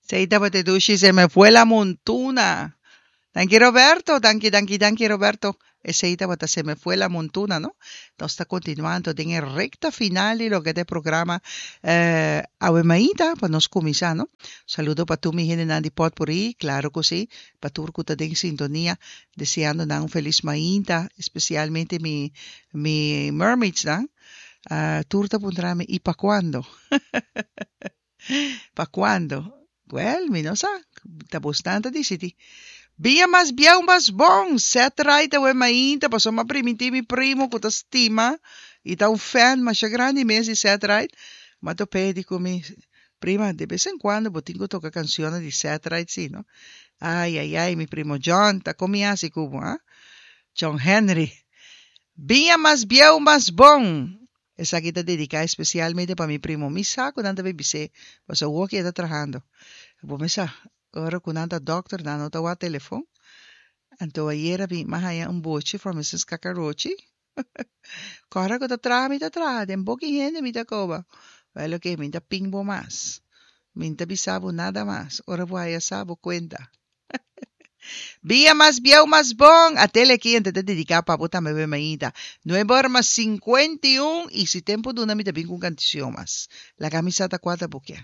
Esei tabata dushi Se me fue la montuna. Danki Roberto, danki, danki, danki Roberto. Esei tabata Se me fue la montuna, no? Nos ta continuando den e recta final di loke ta e programa eh, Awe Mainta pa nos cuminsa, no? Saludo pa tur mi hendenan di Potpourri, claro cu si, pa tur cu ta den sintonia, deseando nan un feliz mainta, especialmente mi mi mermaidsnan. Ah, tur ta puntra mi, y pa cuando? Pa cuando? Wel, mi no sa. Ta bosnan ta dicidi. Biña mas bieu mas bon! Set right awe mainta pasobra m'a primintí mi primo cu ta stima y ta un fan masha grandi mes di Set Right. M'a top'é di cu mi, Prima, de bes en cuando bo tin cu toca cancionnan di Set Right si, no? Ay, ay, ay, mi primo John, ta con mi haci cu bo, ha? John Henry. Biña mas bieu mas bon! Esaki ta dediká espesialmente pa mi primo. Mi sa ku nan ta bebis'é, pasobra awor ku e ta trahando. Bo mi sa, ora ku nan ta dòkter nan no ta wak telefon. Anto ayera mi a haña un bochi from Mrs. Kakarochi. Kòrda ku ta traha mi ta traha, den boki hende mi ta koba. Wèl oke, mi ta pin bo mas. Mi ta bisa bo nada mas. Ora bo haya sa, bo kuenta. Bia mas bieu mas bon! A tele aki ente ta dedica pa bo tambe be mainta. Nuebe ora mas 51 y si tempo duna mi ta bin cu un canticion mas. Laga mi sa ta cua ta bo kier.